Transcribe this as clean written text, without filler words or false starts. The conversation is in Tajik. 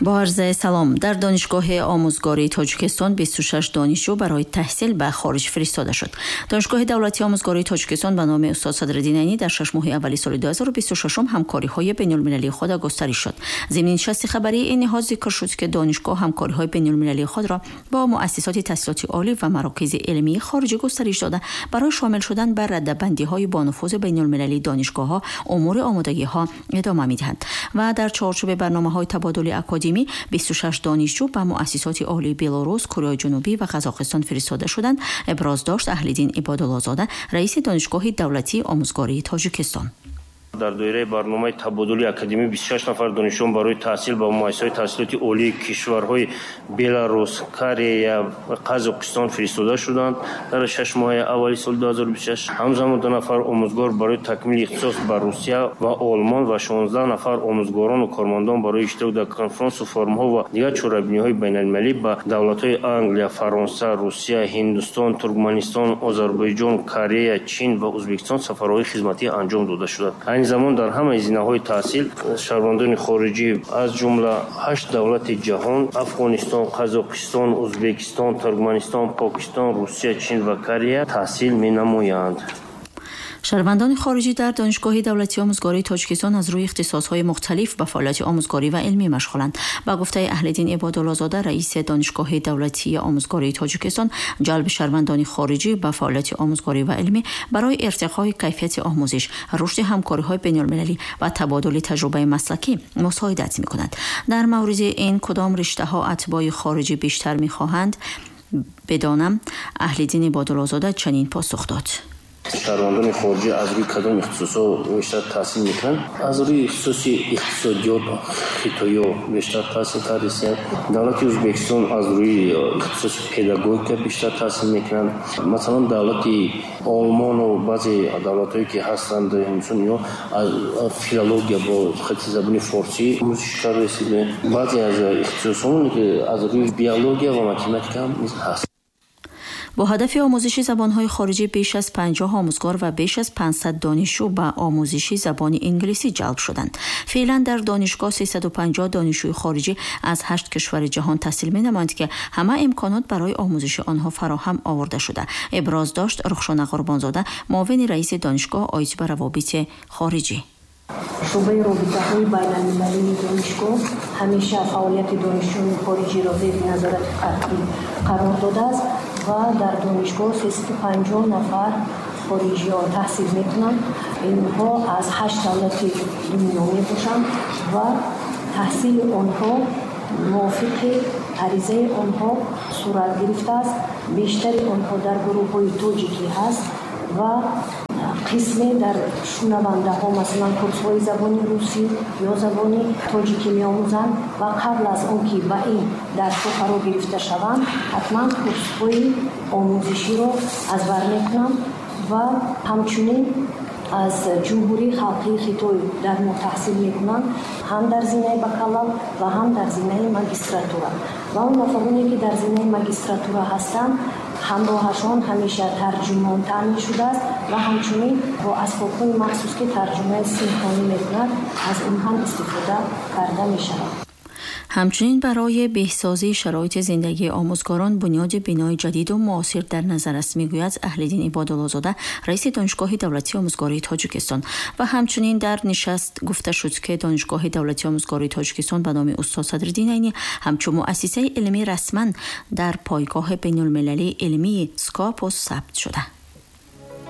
Бо арзи салом, дар Донишгоҳи омӯзгории Тоҷикистон 26 донишҷӯ барои таҳсил ба хориҷ фиристода шуд. Донишгоҳи давлатии омӯзгории Тоҷикистон ба номи устод Садриддин Айнӣ дар 6 моҳи аввали соли 2026 ҳамкориҳои байналмилалии худ густариш шуд. Зимни нишасти хабарии ин ниҳод зикр шуд, ки донишгоҳ ҳамкориҳои байналмилалии худро бо муассисоти таҳсилоти олӣ ва марокизи илмии хориҷӣ густариш дода, барои шомил шудан ба радабандиҳои бонуфузи байналмилалии донишгоҳҳо умури омодагиҳо идома медиҳанд ва дар чорчӯби барномаҳои табодули академӣ 26 донишҷӯ ба муассисоти олии Белорус, Кореяи Ҷанубӣ ва Қазоқистон фиристода шуданд, иброз дошт Аҳлиддин Ибодуллозода, раиси Донишгоҳи давлатии омӯзгории Тоҷикистон. Дар доираи барномаи табодули академӣ 26 нафар донишҷӯён барои таҳсил ба муассисаҳои таҳсилоти олии кишварҳои Беларус, Корея ва Қазоқистон фиристода шуданд дар 6 моҳаи аввали соли 2026. Ҳамзамон ду нафар омӯзгор барои такмили ихтисос ба Русия ва Олмон ва 16 нафар омӯзгорону кормандон барои иштирок дар конфронсу форумҳо ва дигар чорабиниҳои байналмилалӣ ба давлатҳои Англия, Фаронса, Русия, Ҳиндустон, Туркманистон, Озарбойҷон, Корея, Чин ва Ӯзбекистон сафарҳои хизматӣ анҷом дода шуданд. Айни замон дар ҳамаи зинаҳои таҳсил шаҳрвандони хориҷӣ, аз ҷумла ҳашт давлати ҷаҳон: Афғонистон, Қазоқистон, Ӯзбекистон, Туркманистон, Покистон, Русия, Чин ва Корея таҳсил менамоянд. Шаҳрвандони хориҷӣ дар Донишгоҳи давлатии омӯзгории Тоҷикистон аз рӯи ихтисосҳои мухталиф ба фаъолияти омӯзгорӣ ва илмӣ машғуланд. Ба гуфтаи Аҳлиддин Ибодуллозода, раиси Донишгоҳи давлатии омӯзгории Тоҷикистон, ҷалби шаҳрвандони хориҷӣ ба фаъолияти омӯзгорӣ ва илмӣ барои иртиқои кайфияти омӯзиш, рушди ҳамкориҳои байналмилалӣ ва табодули таҷрибаи маслакӣ мусоидат мекунад. Дар мавриди ин кудом риштаҳо атбои хориҷӣ бештар мехоҳанд бидонам, Аҳлиддин Ибодуллозода чунин посух дод. Шаҳрвандони хориҷӣ аз рӯи кадом ихтисосҳо бештар таҳсил мекунанд? Аз рӯи ихтисоси иқтисодиёт хитоё бештар таҳсил кардастанд. Давлати Ӯзбекистон аз рӯи ихтисоси педагогика бештар таҳсил мекунанд. Масалан, давлати Олмону баъзе давлатҳое ки ҳастанд, ҳиндустон, ино аз филология бо хати забони форсӣ омӯзиш карда. Баъзе аз ихтисосҳо аз рӯи биология ва математика ҳам низ ҳаст. Бо ҳадафи омӯзиши забонҳои хориҷӣ беш аз 50 омӯзгор ва беш аз 500 донишҷӯ ба омӯзиши забони инглисӣ ҷалб шуданд. Феълан дар донишгоҳ 350 донишҷӯи хориҷӣ аз ҳашт кишвари ҷаҳон таҳсил менамоянд, ки ҳама имконот барои омӯзиши онҳо фароҳам оварда шуда, иброз дошт Рухшона Қурбонзода, муовини раиси донишгоҳ оид ба равобити хориҷӣ. Шӯъбаи робитаҳои байналмилалии донишгоҳ ҳамеша фаъолияти донишҷӯёни хориҷиро зери назорати қатъӣ қарор додааст ва дар донишгоҳ 350 нафар хориҷиён таҳсил мекунанд. Инҳо аз ҳашт давлати дунё мебошанд ва таҳсили онҳо мувофиқи аризаи онҳо сурат гирифтааст. Бештари онҳо дар гурӯҳҳои тоҷикӣ ҳаст ва қисме дар шунавандаҳо, масалан, курсҳои забони русӣ ё забони тоҷикӣ меомӯзанд ва қабл аз он ки ба ин дарсҳо фаро гирифта шаванд, ҳатман курсҳои омӯзиширо аз бар мекунанд. Ва ҳамчунин аз Ҷумҳурии Халқии Хитой дар мо таҳсил мекунанд, ҳам дар зинаи бакалавр ва ҳам дар зинаи магистратура. Ва он нафароне, ки дар зинаи магистратура ҳастанд, ҳамроҳашон ҳамеша тарҷумон таъмин шудааст ва ҳамчунин бо асбобҳои махсус, ки тарҷумаи синхронӣ мекунад, аз он ҳам истифода карда мешавад. Ҳамчунин барои беҳсозии шароити зиндагии омӯзгорон бунёди бинои ҷадиду муосир дар назар аст, мегӯяд Аҳлиддин Ибодуллозода, раиси Донишгоҳи давлатии омӯзгории Тоҷикистон. Ва ҳамчунин дар нишаст гуфта шуд, ки Донишгоҳи давлатии омӯзгории Тоҷикистон ба номи устод Садриддин Айнӣ ҳамчун муассисаи илмӣ расман дар пойгоҳи байналмилалии илмии Скопус сабт шуда.